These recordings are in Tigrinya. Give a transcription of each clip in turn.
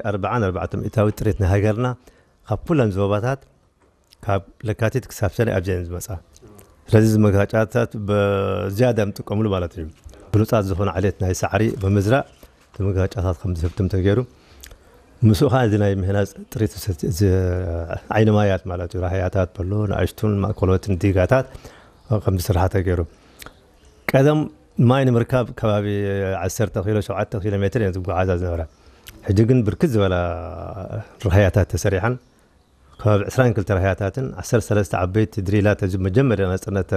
ኣርባዓን ኣርባዕተ ሚእታዊት ጥሪት ናይ ሃገርና ካብ ኩለን ዞባታት ካብ ለካቲት ክሳብ ሰነ ኣብዚኣን ዝመጻ። ስለዚ እዚ መጋጫታት ብዝያዳ ንጥቀምሉ ማለት እዩ። ብሉጻት ዝኾነ ዓሌት ናይ ሳዕሪ ብምዝራእ እቲ መጋጫታት ከም ዝህብትም ተገይሩ። ምስኡ ከዓ እዚ ናይ ምህናፅ ጥሪት፣ እዚ ዓይኒ ማያት ማለት እዩ። ራህያታት በሎ ንኣሽቱን ማእከሎትን ዲጋታት ከም ዝስራሕ ተገይሩ። ቀደም ማይ ንምርካብ ከባቢ ዓሰርተ ኪሎ፣ ሸውዓተ ኪሎ ሜትር እየን ዝጓዓዛ ዝነበራ። ሕጂ ግን ብርክት ዝበላ ራህያታት ተሰሪሓን፣ ከባቢ ዕስራን ክልተ ራህያታትን ዓሰርተ ሰለስተ ዓበይቲ ድሪላት፣ እዚ መጀመርያ ናፅነት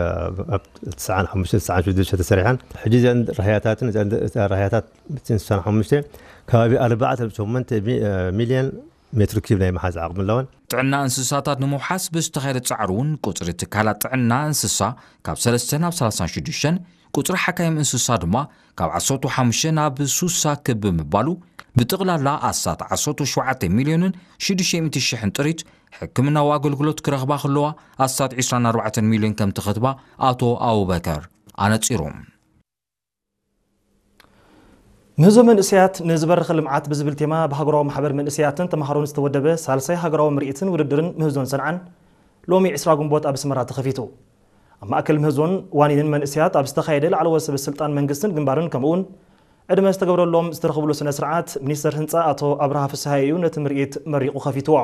ኣብ ትስዓን ሓሙሽተ ትስዓን ሽዱሽተ ተሰሪሐን። ሕጂ እዘን ራህያታትን፣ እዘን ራህያታት ስሳን ሓሙሽተ ከባቢ ኣርባዕተ ነጥቢ ሸሞንተ ሚልዮን ሜትር ኪዩብ ናይ መሓዝ ዓቕሚ ኣለወን። ጥዕና እንስሳታት ንምውሓስ ብዝተኻየደ ጻዕሪ እውን ቁጽሪ ትካላት ጥዕና እንስሳ ካብ ሰለስተ ናብ ሰላሳን ሽዱሽተን፣ ቁጽሪ ሓካይም እንስሳ ድማ ካብ ዓሰርተ ሓሙሽተ ናብ ሱሳ ክብ ብምባሉ፣ ብጥቕላላ ኣስታት ዓሰርተ ሸውዓተ ሚልዮንን ሽዱሽተ ሚእቲ ሽሕን ጥሪት ሕክምናዊ ኣገልግሎት ክረኽባ ከለዋ፣ ኣስታት ዕስራን ኣርባዕተን ሚልዮን ከም ተኸትባ ኣቶ ኣቡበከር ኣነጺሩ። ምህዞ መንእሰያት ንዝበረኸ ልምዓት ብዝብል ቴማ ብሃገራዊ ማሕበር መንእሰያትን ተምሃሮን ዝተወደበ ሳልሳይ ሃገራዊ ምርኢትን ውድድርን ምህዞን ሰንዓን ሎሚ ዕስራ ግንቦት ኣብ ኣስመራ ተኸፊቱ። ኣብ ማእከል ምህዞን ዋኒንን መንእሰያት ኣብ ዝተኻየደ ላዕለዎት ሰበ ስልጣን መንግስትን ግንባርን ከምኡውን ዕድመ ዝተገብረሎም ዝተረኽብሉ ስነ ስርዓት ሚኒስተር ህንጻ ኣቶ ኣብርሃ ፍስሃየ እዩ ነቲ ምርኢት መሪቑ ከፊትዎ።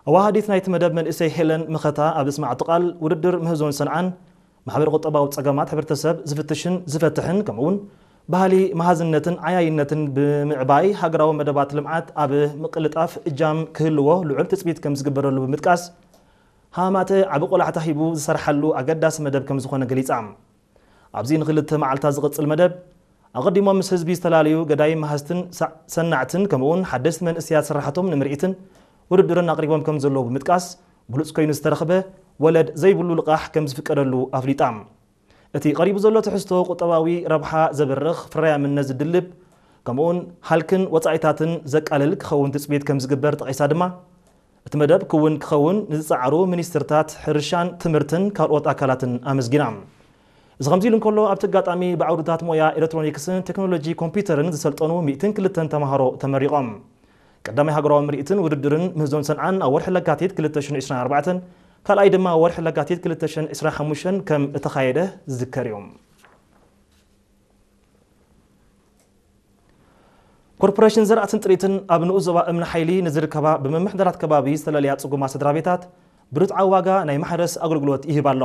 ኣዋሃዲት ናይቲ መደብ መንእሰይ ሄለን መኸታ ኣብ ዘስማዓቶ ቃል፣ ውድድር ምህዞን ሰንዓን ማሕበረ ቁጠባዊ ጸገማት ሕብረተሰብ ዝፍትሽን ዝፈትሕን ከምኡውን ባህሊ መሃዝነትን ዓያይነትን ብምዕባይ ሃገራዊ መደባት ልምዓት ኣብ ምቅልጣፍ እጃም ክህልዎ ልዑል ትጽቢት ከም ዝግበረሉ ብምጥቃስ፣ ሃማተ ዓቢ ቆላሕታ ሂቡ ዝሰርሓሉ ኣገዳሲ መደብ ከም ዝኾነ ገሊጻ። ኣብዚ ንክልተ መዓልታት ዝቕጽል መደብ፣ ኣቐዲሞም ምስ ህዝቢ ዝተፈላለዩ ገዳይም መሃዝትን ሳ-፣ ሰናዕትን ከምኡውን ሓደስቲ መንእሰያት ስራሕቶም ንምርኢትን ውድድርን ኣቕሪቦም ከም ዘለዉ ብምጥቃስ፣ ብሉጽ ኮይኑ ዝተረኽበ ወለድ ዘይብሉ ልቓሕ ከም ዝፍቀደሉ ኣፍሊጣ። እቲ ቀሪቡ ዘሎ ትሕዝቶ ቁጠባዊ ረብሓ ዘበርኽ፣ ፍርያምነት ዝድልብ፣ ከምኡውን ሃልክን ወጻኢታትን ዘቃልል ክኸውን ትጽቢት ከም ዝግበር ጠቒሳ ድማ፣ እቲ መደብ ክውን ክኸውን ንዝጸዓሩ ሚኒስትርታት ሕርሻን ትምህርትን ካልኦት ኣካላትን ኣመስጊና። እዚ ከምዚ ኢሉ እንከሎ፣ ኣብቲ ኣጋጣሚ ብዓውድታት ሞያ ኤሌክትሮኒክስን ቴክኖሎጂ ኮምፒውተርን ዝሰልጠኑ ሚእትን ክልተን ተምሃሮ ተመሪቖም። ቀዳማይ ሃገራዊ ምርኢትን ውድድርን ምህዞን ሰንዓን ኣብ ወርሒ ለካቲት ክልተ ሽሕን ዕስራን ኣርባዕተን፣ ካልኣይ ድማ ወርሒ ለካቲት ክልተ ሽሕን ዕስራን ሓሙሽተን ከም እተኻየደ ዝዝከር እዩ። ኮርፖሬሽን ዘራእትን ጥሪትን ኣብ ንኡስ ዞባ እምኒ ሓይሊ ንዝርከባ ብምምሕዳራት ከባቢ ዝተለለያ ጽጉማት ስድራ ቤታት ብርትዓዊ ዋጋ ናይ ማሕረስ ኣገልግሎት ይህብ ኣሎ።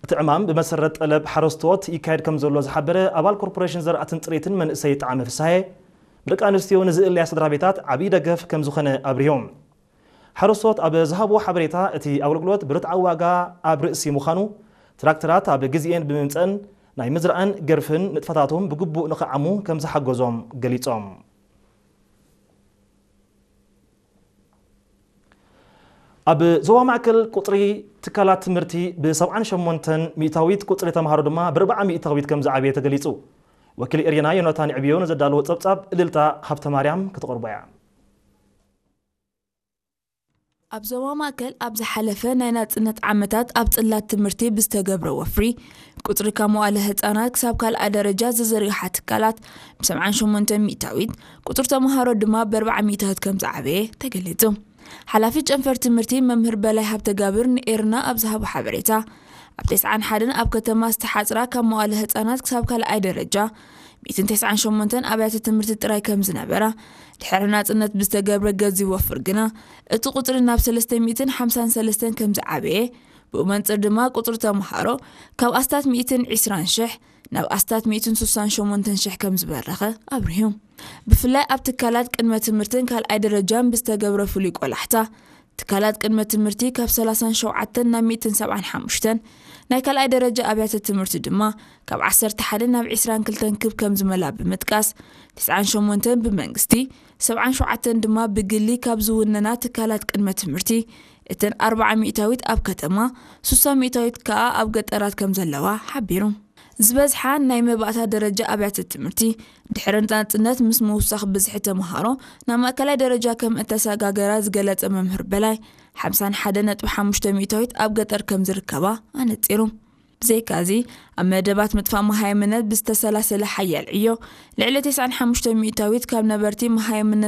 እቲ ዕማም ብመሰረት ጠለብ ሓረስቶት ይካየድ ከም ዘሎ ዝሓበረ ኣባል ኮርፖሬሽን ዘራእትን ጥሪትን መንእሰይ ጣዕመ ፍስሃየ፣ ደቂ ኣንስትዮ ንዝእለያ ስድራ ቤታት ዓብዪ ደገፍ ከም ዝኾነ ኣብሪሆም። ሓረስቶት ኣብ ዝሃብዎ ሓበሬታ፣ እቲ ኣገልግሎት ብርትዓዊ ዋጋ ኣብ ርእሲ ምዃኑ፣ ትራክተራት ኣብ ግዜኤን ብምምፀእን ናይ ምዝራእን ገርፍን ንጥፈታቶም ብግቡእ ንኽዓሙ ከም ዝሓገዞም ገሊጾም። ኣብ ዞባ ማእከል ቁጽሪ ትካላት ትምህርቲ ብ ሰብዓን ሸሞንተን ሚእታዊት፣ ቁጽሪ ተምሃሮ ድማ ብ ኣርብዓ ሚእታዊት ከም ዝዓበየ ተገሊጹ። ወኪል ኤርና ዮናታን ዕብዮ ንዘዳለዎ ጸብጻብ እልልታ ሃብተ ማርያም ክትቐርቦ እያ። ኣብ ዞባ ማእከል ኣብ ዝሓለፈ ናይ ናጽነት ዓመታት ኣብ ጽላት ትምህርቲ ብዝተገብረ ወፍሪ፣ ቁጽሪ ካብ መዋለ ህጻናት ክሳብ ካልኣይ ደረጃ ዝዝርግሓ ትካላት ብ ሰብዓን ሸሞንተ ሚእታዊት፣ ቁጽሪ ተምሃሮ ድማ ብ ኣርብዓ ሚእታዊት ከም ዝዓበየ ተገሊጹ። ሓላፊ ጨንፈር ትምህርቲ መምህር በላይ ሃብተጋብር ንኤርና ኣብ ዝሃቦ ሓበሬታ፣ ኣብ ተስዓን ሓደን ኣብ ከተማ ዝተሓጽራ ካብ መዋለ ህጻናት ክሳብ ካልኣይ ደረጃ ሚእትን ተስዓን ሸሞንተን ኣብያተ ትምህርቲ ጥራይ ከም ዝነበራ፣ ድሕሪ ናጽነት ብዝተገብረ ገዚፍ ወፍር ግና፣ እቲ ቁጽሪ ናብ ሰለስተ ሚእትን ሓምሳን ሰለስተን ከም ዝዓበየ፣ ብኡ መንጽር ድማ ቁጽሪ ተምሃሮ ካብ ኣስታት ሚእትን ዕስራን ሽሕ ናብ ኣስታት ሚእትን ስሳን ሸሞንተን ሽሕ ከም ዝበረኸ ኣብሪሁ። ብፍላይ ኣብ ትካላት ቅድመ ትምህርትን ካልኣይ ደረጃን ብዝተገብረ ፍሉይ ቆላሕታ፣ ትካላት ቅድመ ትምህርቲ ካብ ሰላሳን ሸውዓተን ናብ ሚእትን ሰብዓን ሓሙሽተን፣ ናይ ካልኣይ ደረጃ ኣብያተ ትምህርቲ ድማ ካብ ዓሰርተ ሓደ ናብ ዕስራን ክልተን ክብ ከም ዝመላ ብምጥቃስ፣ ተስዓን ሸሞንተን ብመንግስቲ፣ ሰብዓን ሸውዓተን ድማ ብግሊ ካብ ዝውነና ትካላት ቅድመ ትምህርቲ፣ እተን ኣርብዓ ሚእታዊት ኣብ ከተማ፣ ስሳ ሚእታዊት ከኣ ኣብ ገጠራት ከም ዘለዋ ሓቢሩ። ዝበዝሓ ናይ መባእታ ደረጃ ኣብያተ ትምህርቲ ድሕሪ ናጽነት ምስ ምውሳኽ ብዝሒ ተምሃሮ ናብ ማእከላይ ደረጃ ከም እተሰጋገራ ዝገለጸ መምህር በላይ፣ ሓምሳን ሓደን ነጥቢ ሓሙሽተ ሚእታዊት ኣብ ገጠር ከም ዝርከባ ኣነጺሩ። ብዘይካዚ፣ ኣብ መደባት ምጥፋእ መሃይምነት ብዝተሰላሰለ ሓያል ዕዮ፣ ልዕሊ ተስዓን ሓሙሽተ ሚእታዊት ካብ ነበርቲ መሃይምነት